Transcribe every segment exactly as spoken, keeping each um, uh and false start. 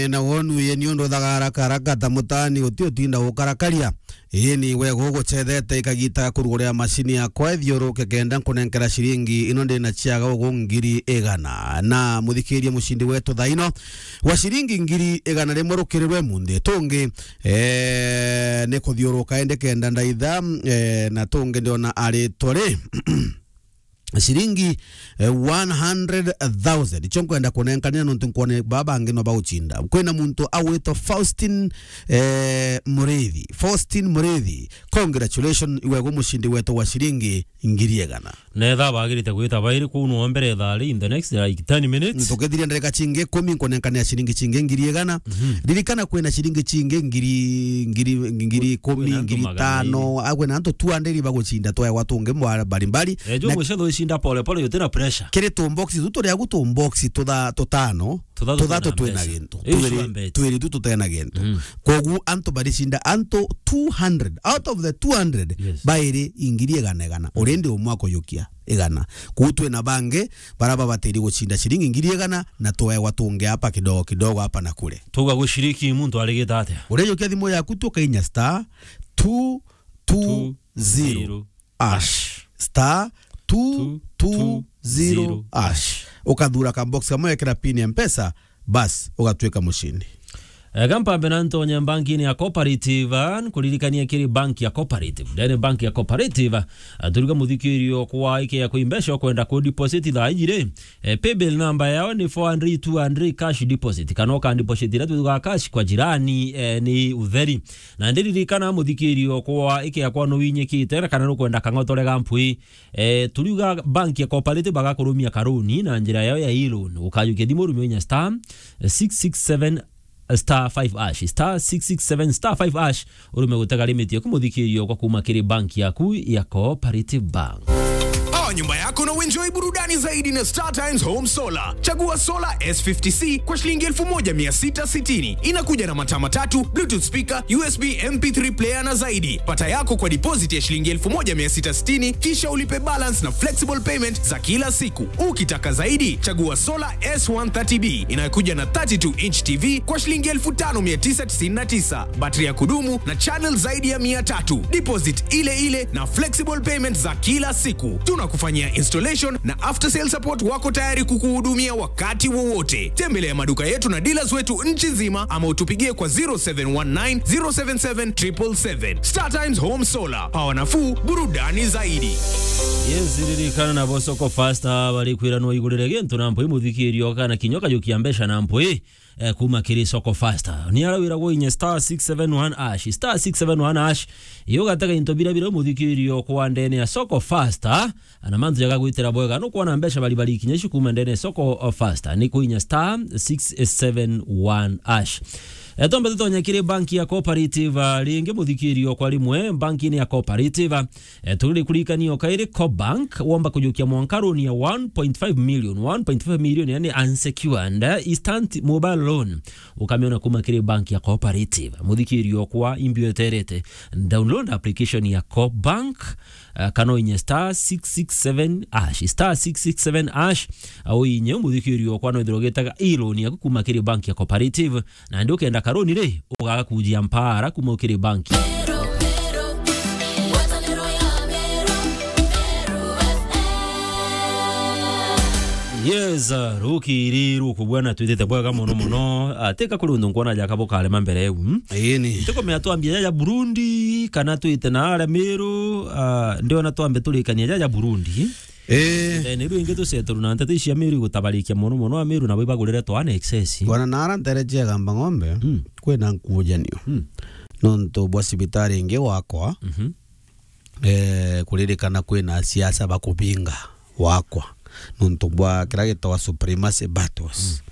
Na wonu ye niundu thagara karaka ta mutani uti utinda ukarakaria. Ii ni wega ugucethete ikagita kurugurira macini yakwa ithiuruke kenda nkunenkera ciringi ino ndi na ciaga ugu ngiri igana. Na muthikiria mucindi wetu thaino wa ciringi ngiri igana rimwe rukirirwe munthi tungi, eh, ni kuthiuruka indi kenda ndaitha, eh, na tungi ndiona aritwa ri ciringi, eh, one hundred thousand. Icio nkwenda kunenkanira nontu nkwone baba bangi no bagucinda. Kwina muntu agwitwa Faustin, eh, Murithi. Faustin Murithi, congratulations, iwe gu mucindi wetu wa ciringi ngiri igana. Netha bagirite gwita bairi kuu no mbere thaa ri in the next, like, ten minutes. Tukithiria ndarika cingi ikumi nkunenkanira ciringi cingi ngiri igana. Mhm. Ririkana kwina ciringi cingi ngiri, ngiri, ngiri ikumi, kwina antu ngiri magana tano, iri. Agwe na antu two hundred bagucinda twaegwa tungi mwa mbalimbali. Eh, jo na mwisho tho icinda pole pole, yote na pressure. Kiri tu box tu turia gu tu box tutha-, tutano, tuthatu twina gintu. Twiri, twiri tu tutena gintu. Mm. Kogu antu baricinda antu two hundred. Out of the two hundred, yes, bairi ingiri igana igana. Mm. Already umwe akuyukia igana. Kuu twina bangi bara babatiri gucinda ciringi ngiri igana na tuegwa tungi hapa kidogo kidogo hapa na kule. Tuga gushiriki muntu arigita atia? Ureyukia thimu yaku tu ukainya star two two zero hash. Star two two zero hash. Ukathura ka box kamwe, wekera pin ya Mpesa, bas, ugatwika mucindi. Eh, gampambe na ntonye bankini ya Cooperative, ah, nkuririkania kiri bank ya Cooperative. Ndene bank ya Cooperative, ah, turiga muthikirio kwa ike ya kwimbeca ukwenda ku deposit thaa iji ri. Eh, paybill number yao ni four hundred two hundred cash deposit. Kana uka deposit ira tuga cash kwa jirani, eh, ni utheri. Na ndiririkana muthikirio kwa ike yakwa no winyikite, kana nukwenda kang'otore ga mpwi. Eh, turiuga bank ya Cooperative bagakurumia karuni na njira yao ya e-loan. Ukajukia thimu urumie inya star six six seven star five hash, star six six seven star five hash, urume gutega limit yaku muthikirio kwa kuma kiri bank yaku ya Cooperative Bank. Power nyumba yako na uenjoy burudani zaidi na Star Times Home Solar. Chagua Solar S fifty C kwa shilingi elfu moja mia sita sitini. Inakuja na mataa matatu, Bluetooth speaker, U S B M P three player na zaidi. Pata yako kwa deposit ya shilingi elfu moja mia sita sitini, kisha ulipe balance na flexible payment za kila siku. Ukitaka zaidi, chagua Solar S one thirty B inayokuja na thirty-two inch T V kwa shilingi elfu tano mia tisa tisini na tisa, battery ya kudumu na channel zaidi ya mia tatu. Deposit ile ile na flexible payment za kila siku. Tunakufanyia installation na after sale support, wako tayari kukuhudumia wakati wowote. Tembelea maduka yetu na dealers wetu nchi nzima ama utupigie kwa zero seven one nine, zero seven seven, triple seven. Star Times Home Solar, power nafuu, burudani zaidi. Yes, ririkana nabo Soko Fasta barikwira no igurire gintu na mpwi muthikirio kana kinya ukajukia mbeca na mpwi, eh, kuma kiri Soko Fasta. Ni ara wira gwa inye star six seven one hash, star six seven one hash. Iyo gatega into bira bira muthikirio kwa ndene ya Soko Fasta. Na mantu jaga gwitira bwega, nukwona mbeca bari bari kinya ici kuma ndene Soko Fasta, ni kuinya star six seven one hash. Eh, tombe tutonye kiri banki ya Cooperative, ah, ringi muthikirio kwa rimwe, banki ni ya Cooperative. Eh, turi kurikania o kairi Cobank, womba kujukia mwanka loan ya one point five million, one point five million, yani unsecured, eh, instant mobile loan. Ukamiona kuma kiri banki ya Cooperative. Muthikirio kwa imbi eterete. Download application ya Cobank, eh, kana uinye star six six seven hash, star six six seven hash, au inye umuthikirio kwa no ithiro gitaga e-loan yaku kuma kiri bank ya Cooperative, na ndi ukenda karoni ri, ugaga kujia mpara kuma kiri bank. Yes, uh, rukiri ruku bwana twitite bwega muno muno. Ah, tika kuri undu nkwona jaka bukarema mbere eu. Ii ni. Ntikumenya twambie jaja Burundi, kana twite na aria Miru, ah, ndiona twambe turikania jaja Burundi. Eh. Eh, ni rwingi tuceturu na nteto cia Miru igutabarikia muno muno, a Miru nabo ibagurire twana excess. Bwana, na ara ntere cia Gamba Ng'ombe, mm, kwina nkujanio. Mm. Nontu bwa cibitari ingi wakwa, mhm, eh, kuririkana kwina siasa bakubinga wakwa. Nontu bwa kira gitawa supremacy battles.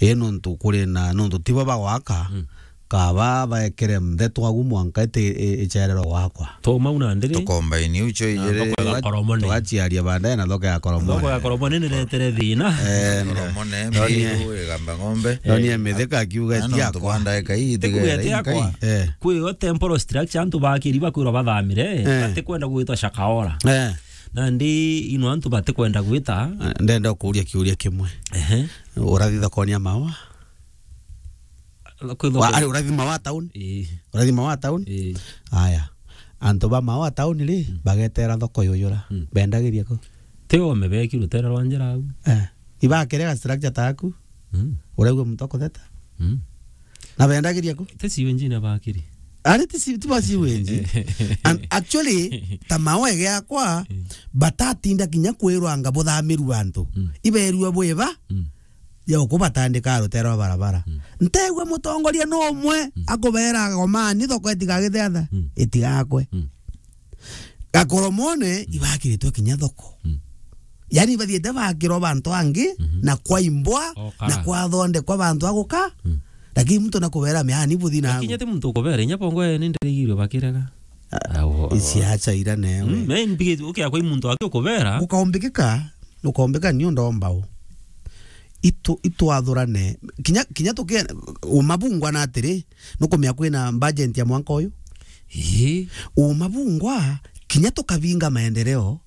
Mm. Ii nontu kuri na, nontu tibo bagwaka, mm, kaba baekere mthe twagu mwanka iti i-, icherero gwakwa. Toma una ndiri. Tukombaini ucio ijiri. Thoko ya Gakoromone. Tugaciaria baadaye na thoko ya Gakoromone. Thoko ya Gakoromone ni retere thina. Eh, Gakoromone, Miru, Igamba Ng'ombe. Ndonie mithika akiuga ti yakwa. Tubanda eka hii, tigera inkai. Eh. Kwi o temporal structure antu bakiri bakwirwa bathamire, eh, batikwenda gwitwa Shakahola. Eh. Nandi ino antu batikwenda gwita. Eh, ndenda kuuria kiuria kimwe. Ehe. Urathi thokoni ya maua? Kwithoko. Wa, ari urathima wa town? Ii. Urathima wa town? Ii. Aya. Antu ba Maua town ri, mm, bagetera thoko yuyura. Mm. Bendagiria ku? Ti ome beki rutere rwa njira au. Eh. Ibakirega structure taku. Mm. Uraigua muntu akutheta? Mm. Na bendagiria ku? Ti siwe njina bakiri. Ari ti si-, ti ba siwe nji. And actually, ta Maua giakwa, mm, batatinda kinya kwirwa anga buthamiru antu. Mm. Iberua bwiba, mm, ya ukubatandika rutere rwa barabara. Mm. Ntegwa mutongoria no umwe, mm, akubera agomani thoko itigagithiatha, mm, itigakwe. Mm. Gakoromone, mm, ibakiritwe kinya thoko. Mm. Yani bathiite bakirwa bantu angi, mhm, na kwaimbwa, okara, na kwathondekwa bantu aguka. Mm. Lakini muntu nakubera miani buthi na. Lakini ati muntu ukubera, inya bongo ni ndirigirwe bakirega. Ah, awo, isiacha ira newe. Mm, me mbigite ukia kwa muntu aki ukubera. Ukaumbikika, ukaumbika ni undu omba u. Itu, itwathurane. Kinya, kinya tuke, uma bungwa na atiri, nukumia kwina budget ya mwanka uyu? Ii. Uma bungwa, kinya tukabinga maendeleo,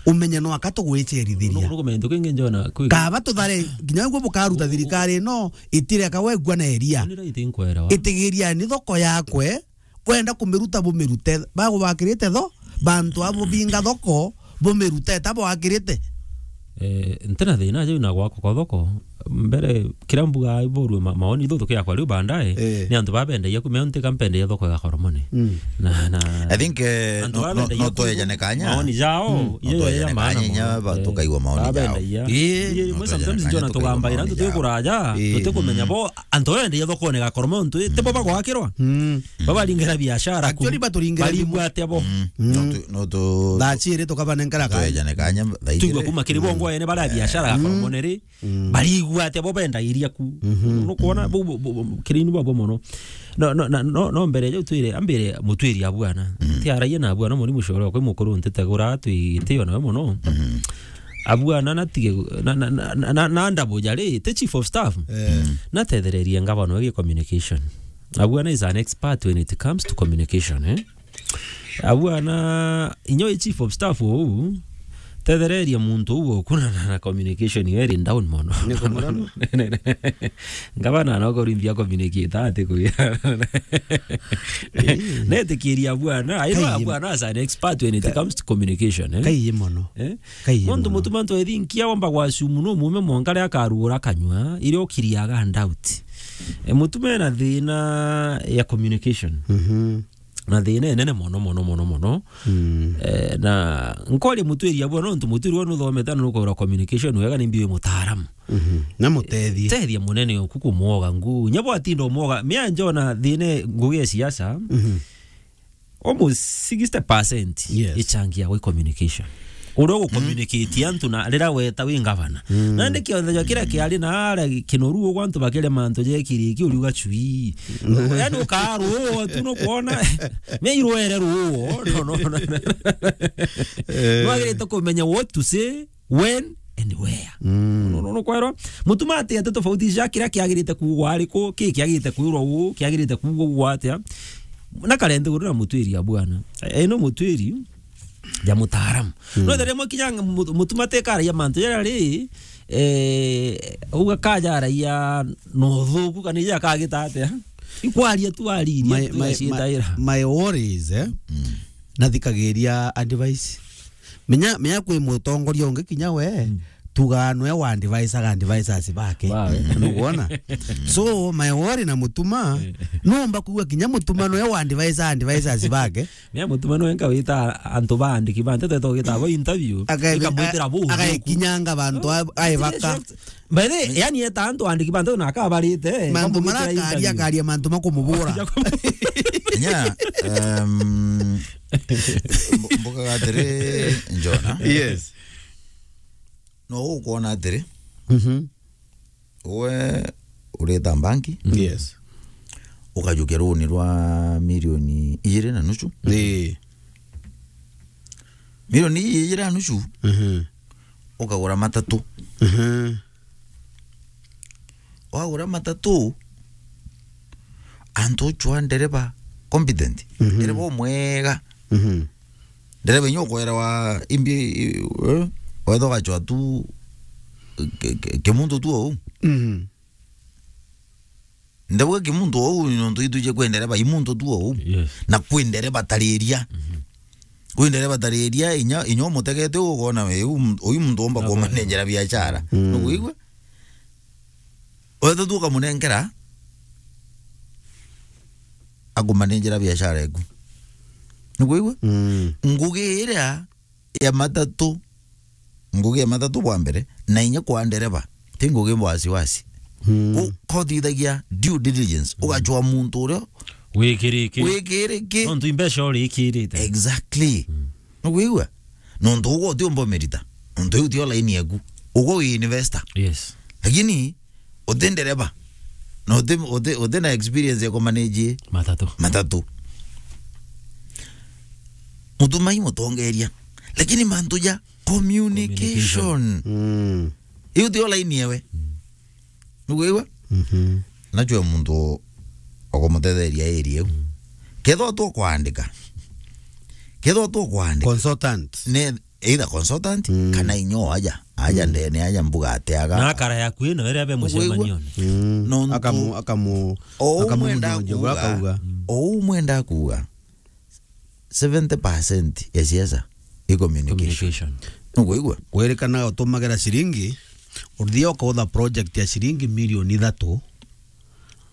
umenye no aka tugwicherithiria. Nu-, nukumenya ntu kingi njona kwi- Kaba tuthare, kinya gwe bukaruta thirikari ino, itireka wegua na eria. Ni right nkwera wa. Itigiria ni thoko yakwe, wenda kumiruta bumirute, bagubakirite tho, bantu abo binga thoko, bumirute, ta bwakirite. Eh, ntina thina jau na gwakwa kwa thoko, mbere, kira mbuga iborue ma-, maoni thuthuki yakwa riu bandae, eh, ni antu babendagia kumea ntika mpendagia thoko ya Koromoni. Mm. Na, na I think, eh, antu no, no, babendagia no twejane kanya. Maoni jao, mm, no iyo twejane ya maana kanya, mono. Inya ba-, eh, tukaigua maoni jao. Babendagia. Ii. Ii, no mwe twejane sometimes kanya, njona tukaigua tugambaira maoni antu jao. Twi kuraja, ii, tuti kumenya bo, antu babendagia thokone ga Koromoni, ntu, ti bo bagwakirwa. Mm. Babaringera biashara ku. Actually, baturingera bimu. Barigua atia bo? Mm. Mm. No tu-, no tu-, thaa ciri tukabanenkera kanya. Twejane kanya, thaa igiri. Tuigua kuma kiri bongo ene baria biashara ga Koromoni ri. Mm. Barigua atia bo bendagiria ku? Mhm. Nukwona bu, bu, bu, bu, kirinu babo mono. No, no, na, no, no mbere jau twire, ambire mutwiri abwana. Mhm. Ti araia na abwana muri mushoro kwi mukuru ntitegura twitio nawe mono. Mhm. Abwana na tige, na, na, na, na, na, na ndabu jari, ti chief of staff. Eh. Mhm. Na tethererie ngavana wegi communication. Abwana is an expert when it comes to communication, eh? Abwana, inya wi chief of staff uu, tethereria muntu uu ukunana na communication yo iri down mono. Ni kumuranu. Ngavana no kurimbia communicate ati kuya. Ii. Netikiria abwana, I know. Kaiye. Abwana as an expert when it comes to communication, eh? Kaiye mono. Eh? Kaiye mono. Muntu mutuma ntu ethinkia wamba gwasumu no mume mwanka ria akarugura kanywa, iria ukiriaga doubt. E, mutuma ena thina ya communication. Mhm. Na thina inene mono, mono, mono, mono. Mm. Eh, na nkoria mutwiri abwo, nontu mutwiri we nuthomete na nukwira communication wega, ni mbiwe mutaaramu. Mhm. Na mutethie. Tethia munene oku kumwoga ngu. Nya bwatinda umwoga, mia njona thina ngugi ya siasa, mhm, almost sixty percent, yes, ichangia gwi communication. Uria ugucommunicate antu na riria weta wi ngavana. Mm. Nandi kionthe ja kiria kiari na aria kinoru ugu antu bakiria mantu jekiriki uriuga chui. Mm. Yani ukaruo tu nukwona. Me irwere ruo. No, no, no. Eh. Nwagirite kumenya what to say, when and where. Mm. No, no, no, kwerwa. Mutuma ati ati tofauti ja kiria kiagirite kuugwa ariku, ki kiagirite kwirwa uu, kiagirite kuugwa uu atia. Na kare nthiguru na mutwiri abwana. Eno mutwiri ja mutaaramu. Mm. No, tharia mwe kinya mu-, mutuma tekaragia mantu jaria ri, eh, uga kajaragia no thuku kana ija kagita atia. Ikwaria tu ariria. My, tu my, my, my worry is, eh? Mm. Nathikagiria advice. Menya, menya kwi mutongoria ungi kinya we, mm, tugaa nwe wa advise aga advisors bake. Bawe. Nukwona? So, my worry na mutuma, eh, nomba kuigua kinya mutuma nwe wa advise advisors bake. Mea mutuma nwe nka wita antu baandiki ba nteto twita bo interview, akae-, ikamwitira bu. Agaikinyanga bantu a-, aibaka. By the way, yani eta antu andiki bantu na akabarite, eh, mantu makamugitira marakaria interview. Akaria mantu makumubura. Nya, um, mbu-, mbukaga atiri, Njona. Yes. No ukwona atiri. Mhm. We urita banki. Yes. Ukajukia runi rwa milioni ijiri na nusu. Ii. Milioni ijiri na nusu. Mhm. Ukagura matatu. Mhm. Wagura matatu, antu uchwa ndereba competent, mhm, ndereba umwega. Mhm. Ndereba inya ukwerewa imbi, eh, wetha ugachwa tu ki-, ki-, kimuntu tu ou. Mhm. Ndauga ki muntu ou, nontu ituje kwi ndereba, i muntu tu ou. Yes. Na kwi ndereba tariria. Mhm. Kwi ndereba tariria, inya, inya umutegete, ukona we, uyu m-, uyu muntu omba kumanenjera biashara. Mm. Nukwigua? Wetha tu ukamunengera, akumanenjera biashara eku. Nukwigua? Mm. Ngugi iria ya matatu, ngugi ya matatu bwa mbere, na inya kwa ndereba, ti ngugi bwa wasiwasi. Mm. Ku-, kothithagia due diligence, mm, ugachwa muntu uria wikiriki. Wikiriki. Nontu imbeca urikirite. Exactly. Mm. Nukwigua? Nontu ugo utiumba umirita. Nontu iu tio line eku. Ugo wi investor. Yes. Lakini uti ndereba. Na uti, uti, uti na experience ya kumanage matatu. Matatu. Mutumai mutongeria. Lakini mantu ja communication. Communication. Mm. Iu tio line ewe. Mm. Nukwigua? Mhm. Nachwe muntu wa kumutetheria area iu. Mm. Kethwa tu kwandika. Kethwa tu kwandika. Consultant. Ne either consultant, mm, kana inyo aja, aja, mm, ndene, aja mbuga ati aga. Na akara yaku ino, ere abe mucemanione. Mm. Nontu akamu-, akamu-, o umwenda akamunyonyogia, kuuga, akauga. O umwenda kuuga, seventy percent ya siasa i communication. Communication. Nukwigua? Kwirikana utumagera ciringi, uthia ukautha project ya ciringi milioni ithatu,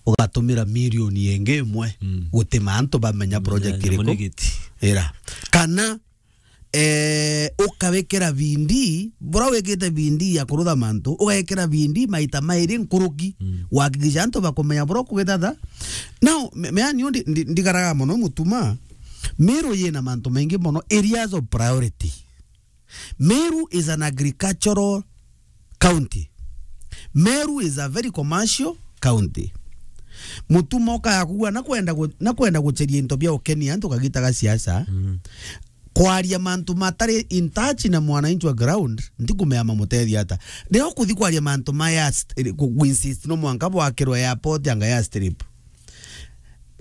ugatumira milioni ingi imwe, mm, gutima antu bamenya project iriku. Ira. Kana eh, ukawikira bidii, bura wikite bidii ya kurutha mantu, ugekira bidii maita mairi nkuruki, mm, gwakikisha antu bakumenya bura ukugithatha. Now, me-, mea niu ndi-, ndi-, ndigaraga mono Mutuma, Meru yina mantu maingi mono, areas of priority. Meru is an agricultural county. Meru is a very commercial county. Mutuma ukaya kuua na kwenda gu-, na kwenda gucheria into bia ukenia antu kagita ga siasa. Mm. Kwaria mantu matari in touch na mwananchi wa ground, ntikumea mamutethia ata. Riria ukuthi kwaria mantu ma air st-, ku, ku insist no mwanka bwakirwe airport anga airstrip.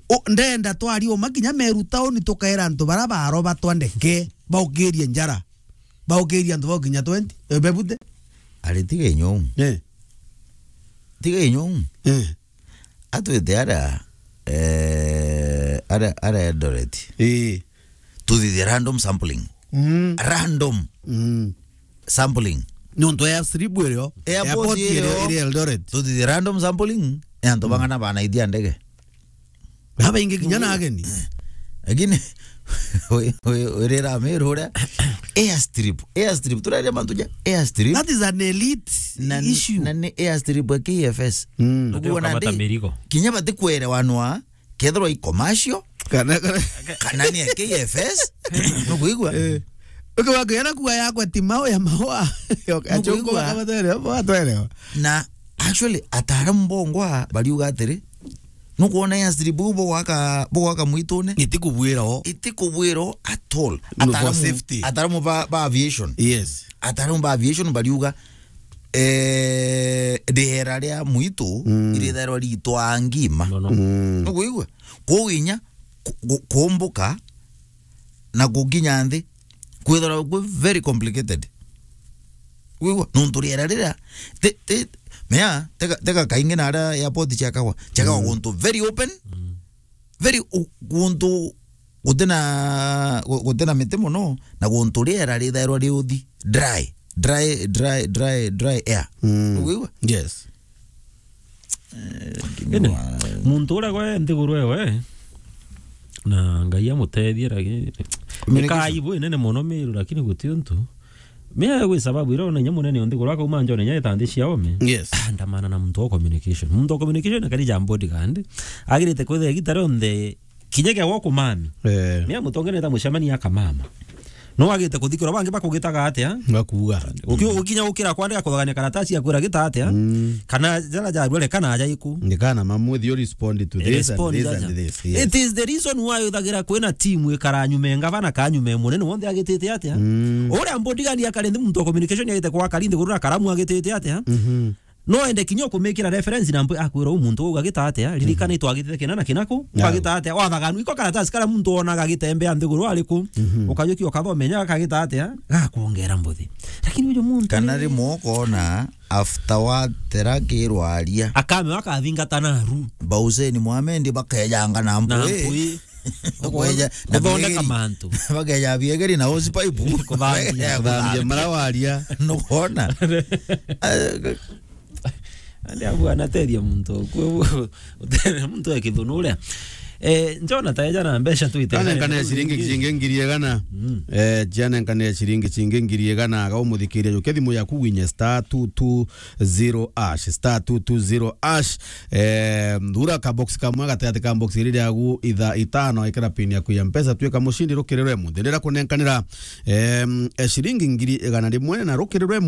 U, ndenda twari uma kinya Meru town tukaira antu bara baroba twa ndeke, baukirie njara. Baukirie antu bau kinya twenty, eh, bebute. Ari tiga inyo. Eh. Tiga inyo. Eh. Atwite ara, eh, ara, ara Eldoret. Eh. Tuthithie random sampling. Mm. Random. Mm. Sampling. Nontu airstrip irio. Airport irio. Airport irio iri Eldoret. Tuthithie random sampling. E antu, mm, bang'ana banaithia ndege. Babaingi kinya na ageni. Lakini, we, we, we rira Meru uria, airstrip, airstrip, turaria mantu ja airstrip. That is an elite issue. Na ni airstrip ya K F S. Mm. Ukuona kamata ndi, mirigo. Kinya batikwere wanwa, kethirwa i commercial, kana, kana, kana ni ya K F S, nukwigua? Eh. Ukiwa kuyana kuwa yakwa ti mau ya maua. Nukwigua? Achoka kama twere, bwa twere. Na actually, ataaramu bongwa bariuga atiri, nukwona airstrip bugwaka, bugwaka mwitune? Itikubwira o. Itikubwira o at all. No, for safety. Ataaramu, ataaramu ba, ba aviation. Yes. Ataaramu ba aviation bariuga, eh, riera ria mwitu, mm, irithairwa ritwaa ngima. Mono. Mm. Nukwigua? Kwou inya ku-, ku-, kumbuka na gukinya nthi, kwithirwa kwi very complicated. Wigua? Nontu riera riria, ti, ti, mea, tega, tega kaingi na aria airport ciakagwa, ciakagwa, mm, guntu very open, mm, very u-, guntu guti na, gu-, guti na miti mono, na guntu riera rithairwa riuthi dry, dry, dry, dry, dry air. Mm. Ukwigua? Yes. Eh, indi, wa- muntu uria gwe nthiguru ewe, na Ngai amutethie, lakini communication. Ni kaibu inene mono Meru, lakini guti untu. Mea gwi sababu iria ona inya munene o nthiguru akauma njone inya eta nthi cia ome. Yes. Andamana na muntu wa communication. Muntu wa communication akari ja bodyguard. Agirite kwithira igita rionthe kinya kia gwa kumami. Eh. Mea mutongeria ta mucemania akamama. No agite kuthikirwa bangi bakugitaga atia? Ngakuga. Uki-, ukinya ukira kwandika kuthagania karatasi ya kwira gita atia? Mm. Kana jara ja rwere kana aja iku. Ni kana mamu, you respond to this and this and this. Yes. It is the reason why uthagira kwina team ikara nyuma e ngavana ka nyuma e munene wonthe agitite atia? Mm. Uria bodyguard akari nthi muntu wa communication agite kwa kari nthi guru na karamu agitite atia? Mhm. No ende kinya kumikira reference na mbu-, akwira u muntu uu agita atia, ririkana itwagitite kina na kinaku, ukagita atia, wathaganu, iko karatasi karia muntu wonaga agitembea nthiguru ari ku, ukajukia ukathome nya akagita atia, gakwongera mbuthi. Lakini uyu muntu Kana ri- rimwe ukona after watera kirwaria. Akame wakathingata naru. Bauseni Mohamed bakejanga na Na mpui. Mpui. Kweja, na kuthondeka biegeri. Mantu. Bakeja biegeri na hose pipe. Kuthambia. Kuthambia mara waria. Nukwona? Andi abu anateria muntu. Kwe-, utere muntu e kithunu uria. Eh, njona taeja na mbeca tu ite. Kana nkane ciringi ciringi ngiri igana. Mm. Eh, jana nkane ciringi ciringi ngiri igana. Aga umuthikiria juke thimu yaku winye star two two zero hash, star two two zero hash. Eh, thura ka box kamwe gatigati ka box iri riagu itha itano, ikira pin yaku ya mpesa, tuika mucindi rukirirwe munthi. Ndira kunenkanira, em, eh, ciringi ngiri igana rimwe na rukirirwe